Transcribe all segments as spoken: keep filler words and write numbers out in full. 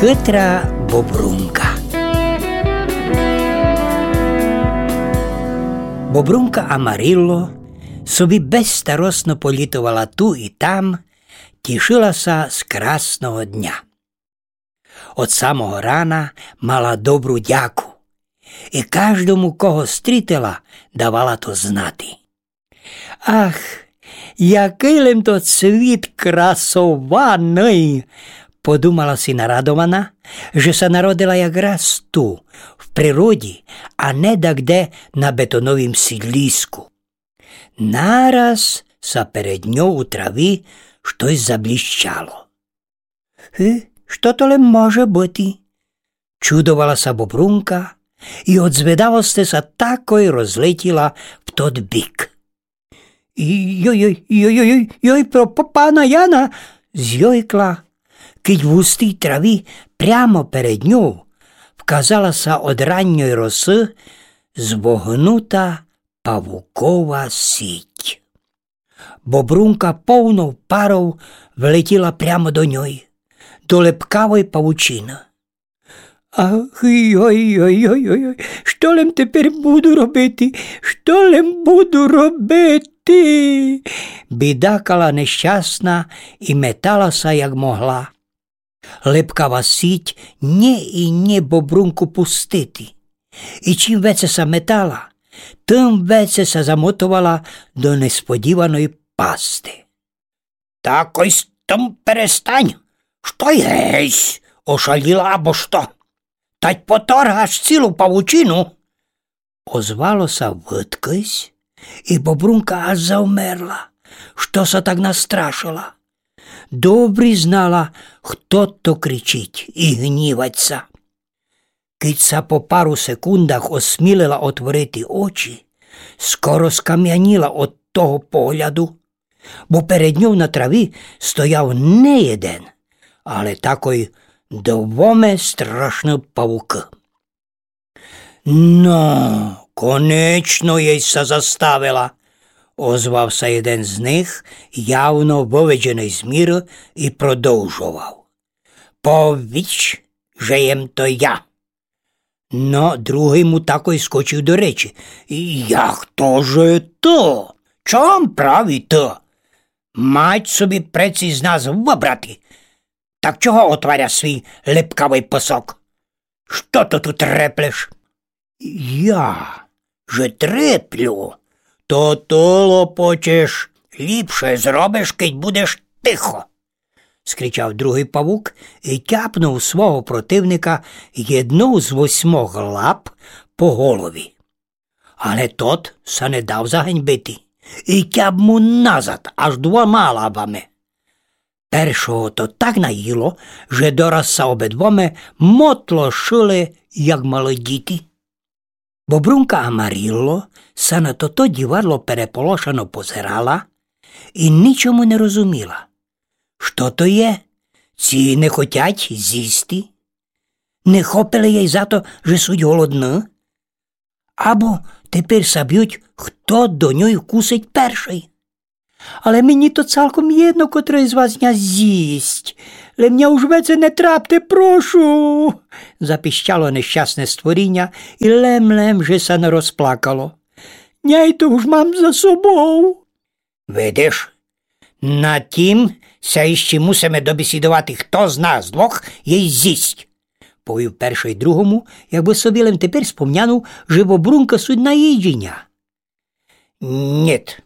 Хитра бобрунка. Бобрунка Амарілло собі безстаросно політовала ту і там, тішила ся з красного дня. Од самого рана мала добру дяку і каждому, кого стрітила, давала то знати. Ах, якый лем то світ красованый! Подумала си нарадована, же ся народила якраз ту, в природі, а не дагде на бетоновім сідлїску. Нараз ся перед ньов у траві штось заблїщало. Е, што то лем може быти? Чудовала ся бобрунка і од зведавости ся такой розлетїла в тот бік. Йой, йой, йой, йой, йой, йой, про п-, пана Яна! Зйойкла, кидь в густій траві прямо перед ньов вказала ся од ранньой росы звогнута павукова сіть. Бобрунка повнов паров влетїла прямо до ньой, до лепкавой павучины. Ах, йой, йой, йой, йой, йой, што лем тепер буду робити? Што лем буду робити? Бідакала нещасна і метала ся, як могла. Лепкава сіть нє і нє бобрунку пустити. І чим веце ся метала, тым веце ся замотовала до несподіваної пасти. Такой з тым перестань! Што єсь, ошалїла або што? Тать поторгаш цілу павучину! Озвало ся выдкось, і бобрунка аж завмерла, што ся так настрашила. Добрі знала, хто то кричить і гнівать ся. Кидь ся по пару секундах осмілила отворити очі, скоро скамянїла од того погляду, бо перед ньов на траві стояв не єден, але такой двоме страшны павукы. Но, конечно єсь ся заставила, озвав ся єден з них, явно выведженый з міры, і продовжовав. Повіч, же єм то я. Но, другый му такой скочив до речі. Як то же ты? Чом праві ты? Мать собі преци з нас выбрати. Так чого отваряш свій лепкавый пасок? Што то ту треплеш? Я же треплю, то ты лопочеш, ліпше зробиш, кидь будеш тихо, скричав другый павук і тяпнув свого противника єднов з восьмох лап по голові. Але тот ся не дав заганьбити і тяп му назад аж двома лапами. Першого то так наїло, же дораз ся обидвоме мотлошыли, як малы діти. Бобрунка Амарілло ся на тото дівадло переполошено позирала і нічому не розуміла. Што то є? Ці не хотять зїсти? Не хопили єй за то, же суть голодны? Або тепер ся бють, хто до ньой вкусить першый? Але мені то цалком єдно, котрый з вас ня зїсть. Лем ня уж веце не трапте, прошу, запищало нещасне створіня і лем-лем же ся не розплакало. Няй то уж мам за собов. Видиш, на тім ся іщи мусиме добесідовати, хто з нас двох єй зїсть, повів першый другому, якбы собі лем тепер спомнянув, же бобрунка суть на їдїня. Нєт,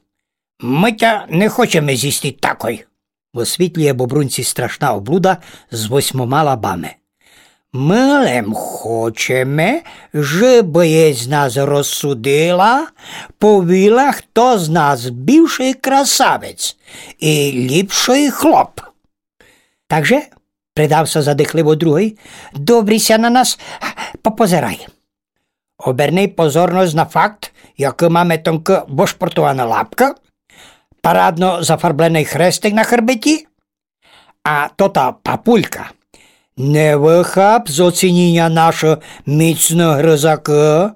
мы тя не хочеме зїсти такой, высвітлює бобрунці страшна облуда з восьмома лапами. Мы лем хочеме, жебы єсь з нас розсудила, повіла, хто з нас бывшый красавець і ліпшый хлоп. Так же, придав ся задихливо другый, добрі ся на нас попозирай. Оберни позорность на факт, якы маме тонкы вышпортованы лапкы, парадно зафарбленый хрестик на хребеті, а тота папулька. Не выхап з оцінїня нашы міцны грызакы.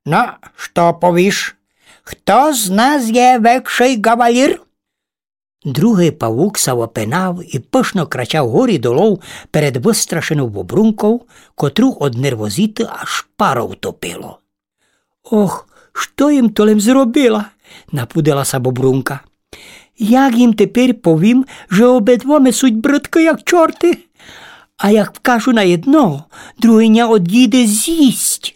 Но, што повіш? Хто з нас є векшый ґавалір? Другый павук ся опинав и пышно крачав горі долов перед выстрашенов бобрунков, котру од нервозиты аж паров топило. Ох, што им то лем зробила? Напудила ся бобрунка. Як им теперь повім, же обидвоме суть брыдкы, як чорты? А як вкажу на єдного, другый ня одїде зїсть.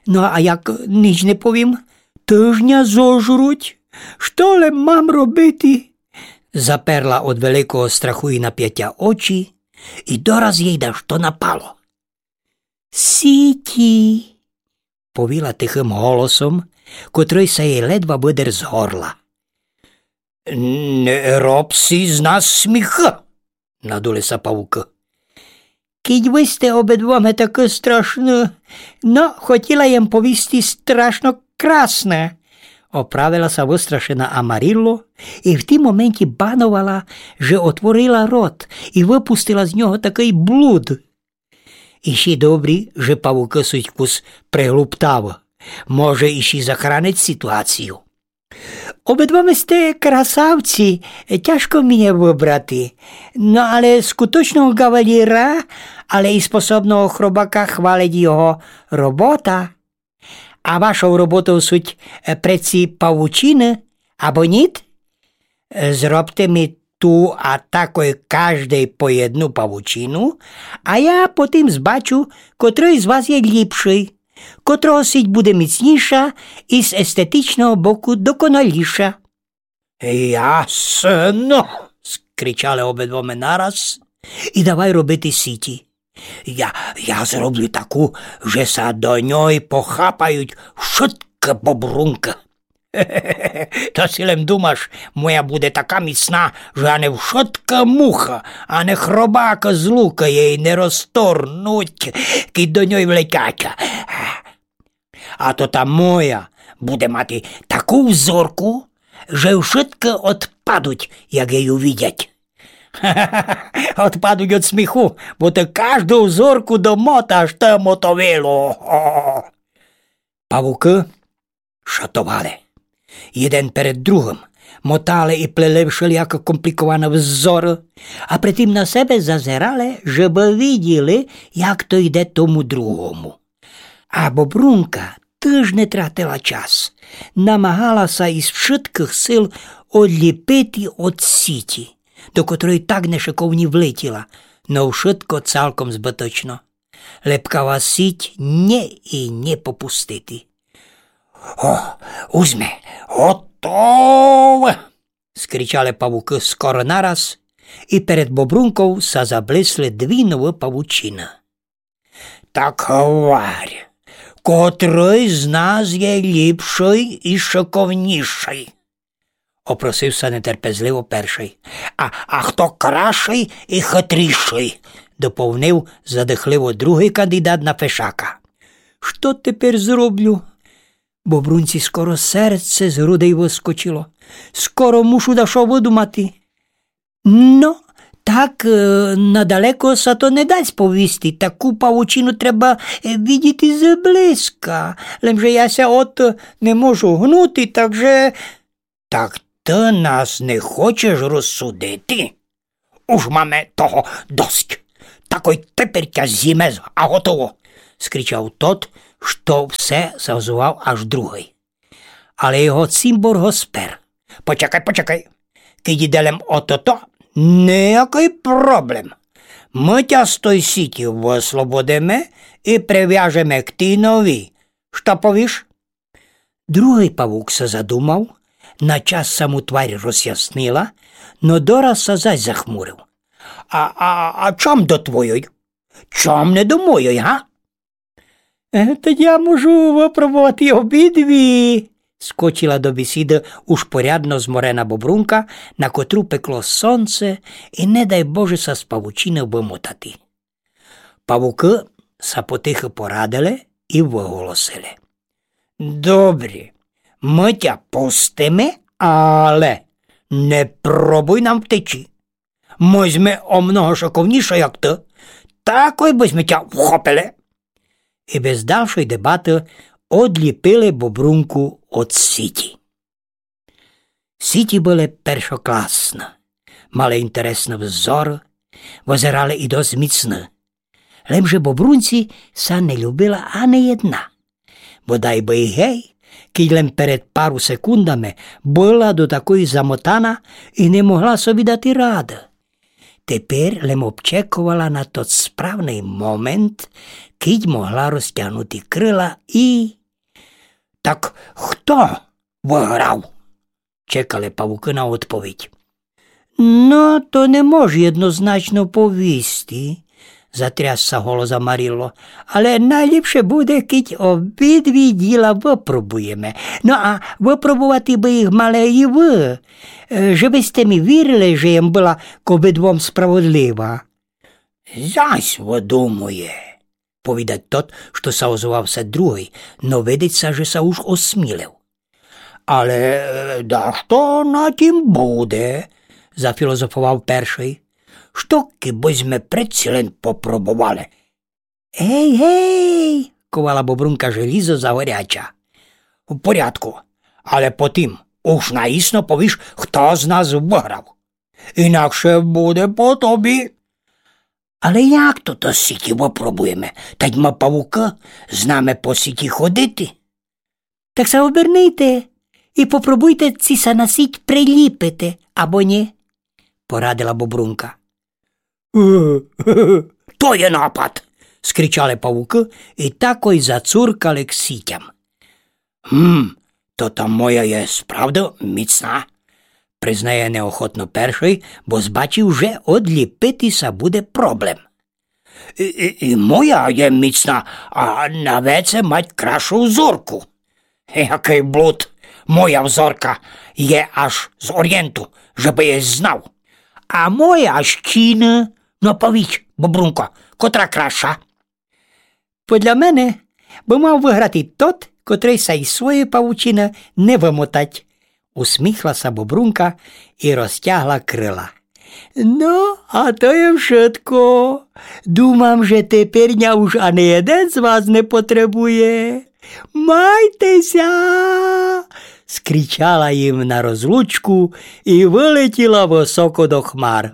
Но а як нич не повім, тыж ня зожруть. Што лем мам робити? Заперла од великого страху и напятя очі, и дораз єй дашто напало. Сіті, повіла тихым голосом, котрый ся єй ледва выдер з горла. Не роб си з нас сміха, надули ся павукы. Кідь вы сте обидвоме такы страшны, но хотіла єм повісти страшно красне, оправила ся выстрашена Амарілло и в тім моменті бановала, же отворила рот и выпустила з нього такый блуд. Іщи добрі, же павукы суть кус приглуптавы. Може, іщи захранить сітуацію. Обидвоме сте красавці, тяжко мені выбрати. Но але скуточного ґавалєра, але и способного хробака хвалить його робота. А вашов роботов суть, е, преці павучины, або ніт? Е, зробте ми ту а такой каждый по єдну павучину, а я потім збачу, котрый з вас є лїпшый, котрого сіть буде міцніша и з естетичного боку доконаліша. Ясно! Скричали обидвоме нараз и давай робити сіті. Я, я зроблю таку, же ся до ньой похапають вшыткы бобрункы. То си лем думаш, моя буде така міцна, же ани вшытка муха, ани хробак з лука єй не розторнуть, кідь до ньой влетять. А то та моя буде мати таку взорку, же вшыткы одпадуть, як єй увидять. Одпадуть од сміху, бо ты кажду взорку домоташ, ты мотовило. Павукы шатовали. Єден перед другым мотали и плели вшеліяко комплікованы взоры, а притім на себе зазерали, жебы виділи, як то йде тому другому. А бобрунка тыж не тратила час, намагала ся из вшыткых сил одлїпити од сіті, до котрой так нешыковні влетіла, но вшытко цалком збыточно. Лепкава сіть нє и нє попустити. О, уж зме готовы! Скричали павукы скоро нараз, и перед бобрунков ся заблисли дві новы павучины. Так гварь, котрый з нас є лїпшый и шыковнїшый? Опросив ся нетерпезливо першый. А, а хто красшый и хытрїшый? Доповнив задыхливо другый кандидат на фешака. Што теперь зроблю? Бобрунці скоро серце з грудей выскочило. Скоро мушу дашто выдумати. Но, так, е, надалеко ся то не дасть повісти. Таку павучину треба, е, видіти зблизка. Лемже я ся од, е, не можу гнути, так же... Так ты нас не хочеш розсудити? Уж маме того досить. Такой теперь тя зїме, а готово, скричав тот, што все ся озывав аж другый. Але його цімбор го спер. Почекай, почекай. Кідь іде лем о тото, ниякый проблем. Мы тя з той сіті выслободиме и привяжеме к тій новій. Што повіш? Другый павук ся задумав, на час ся му тварь розяснила, но дораз ся зась захмурив. А, а, а чом до твойой? Чом не до мойой, га? Е, та я можу выпробовати обидві, скочила до бесіды уж порядно зморена бобрунка, на котру пекло сонце, и не дай Боже ся з павучины вымотати. Павукы ся потихы порадили и выголосили. Добрі, мы тя пустиме, але не пробуй нам втечи. Мы зме о много шыковнїші, як ты. Такой бы зме тя вхопили. И без далшой дебаты одлїпили бобрунку од сіті. Сіті были першокласны, Мали інтересный взор, вызерали і досц міцны. Лемже бобрунці ся не любила ани єдна. Бодай бы й гей, кідь лем перед пару секундами была до такой замотана і не могла собі дати рады. Теперь лем обчековала на тот справный момент, кідь могла розтягнути крыла і... Так хто выграв? Чекали павукы на одповідь. Но, то не мож єднозначно повісти, затряс ся голос Амарілло, але найліпше буде, кідь обидві діла выпробуєме. Но а выпробовати бы їх мали і вы, е, же бы сьте мі вірили, же єм была к обидвом справедлива. Зась выдумує, повідать тот, што ся озвав ся другый, но видить ся, же ся уж осмілив. Але, е, дашто на тім буде, зафілозофовав першый. Што кібы сьме предсі лен попробовали? Гей, гей, ковала бобрунка желізо за горяча. В порядку, але потім уж наісно повіш, хто з нас выграв. Інакше буде по тобі. Але як то то сіті выпробуєме? Тадь мы павукы, знаме по сіті ходити. Так ся обернийте і попробуйте, ци ся на сіть приліпите, або ні, порадила бобрунка. То є напад, скричали павукы і такой зацуркали к сітям. Гм, то та моя є справда міцна, признає неохотно першый, бо збачив, же одліпити ся буде проблем. І, і, і моя є міцна, а на веце мать кращу взорку. Якый блуд, моя взорка є аж з орієнту, же бы єсь знав. А моя аж чіны, но повідь, бобрунко, котра краща? Подля мене бы мав выграти тот, котрый ся із своєї павучины не вымотать, усміхла ся бобрунка і розтягла крыла. Но, а то є вшытко. Думам, же теперь ня уж ани єден з вас не потребує. Майте ся! Скричала їм на розлучку і вылетіла высоко до хмар.